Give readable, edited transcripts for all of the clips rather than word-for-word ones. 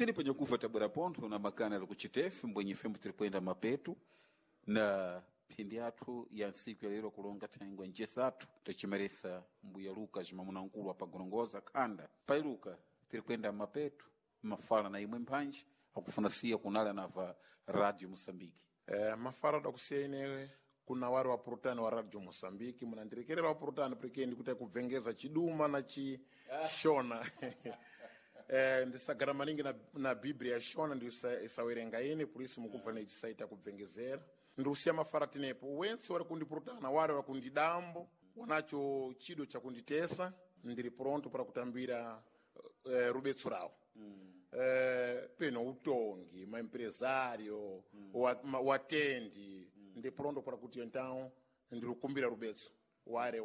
Tili panyakufa tabwera pontho na makana ali kuchitefe mbwenye fembo tiri kuyenda mapetu na phindi athu ya ntsiku ya lero kulonga thangwe ncesathu tacimeresa mbuya Lucas mamuna nkulu apagorongoza khanda pai Luka tiri kuyenda mapetu mafala na imwe mphanji akufuna siya kunala nava Radio Moçambique. Mafala dakusiya ine kuna wari wapurutani wa Radio Moçambique munandirekerera wapurutani porque ndikuti kubvengeza chiduma na chishona. Ndisagara maningi na biblia ya shona ndi isawerenga ine por isso mukubva nechisaita kubvengezera. Ndiusiya mafala tinepo wentse wari kundipurutana wari wakundidambo wanacho chido chakunditesa ndiri pronto para kutambira rubetso rawo. Peno utongi maempresario watendi ndi pronto para kuti então ndiri rubetso ware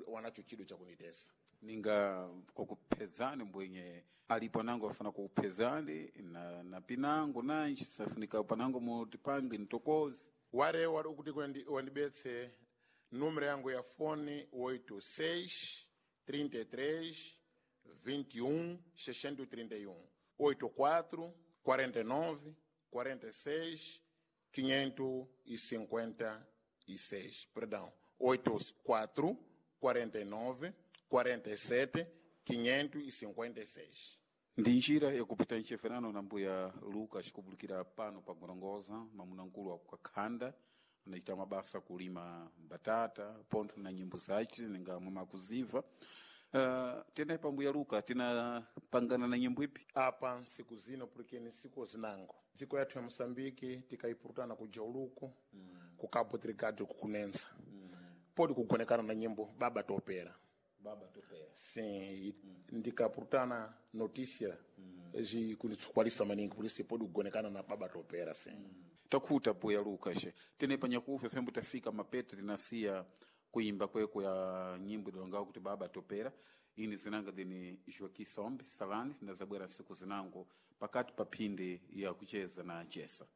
wanacho chido chakunditesa. Ninga kukuphezani mbwenye alipo nango afuna kukuphezani na pinango nanji safunika panango mutipange ntokozi ware wari ukuti wandibetse número yangu ya fone 86 33 21 631 84 49 46 556, perdão, 84 49 47 556. Ndi njira yakupita ncheferano na mbuya Lucas kubulikira pano pa Gorongoza mamuna nkulu akukakhanda anachita mabasa kulima mbatata pontho na nyimbo zace ninga mwamakuziva. Tena pa mbuya Luka tinapangana na nyimbo ipi apa nsiku zino porque ni nsiku zinango dziko yathu ya Moçambique tikaipurutana kuja uluku ku Cabo Delgado kukunensa podi kugonekana na nyimbo Baba Topera. Baba Topera. Sim, ndikapurutana notícia kunitsukwalisa maningi por isso podi kugonekana na Baba Topera sim. Takhuta mbuya Lucas tene panyakufa fembo tafika mapeto tinasiya kuimba kweko ya nyimbo idalongawo kuti Baba Topera. Ini zinanga dini Joaquim Sombe Salani tinazabwera siku zinango pakati pa phindi ya kucheza na chesa.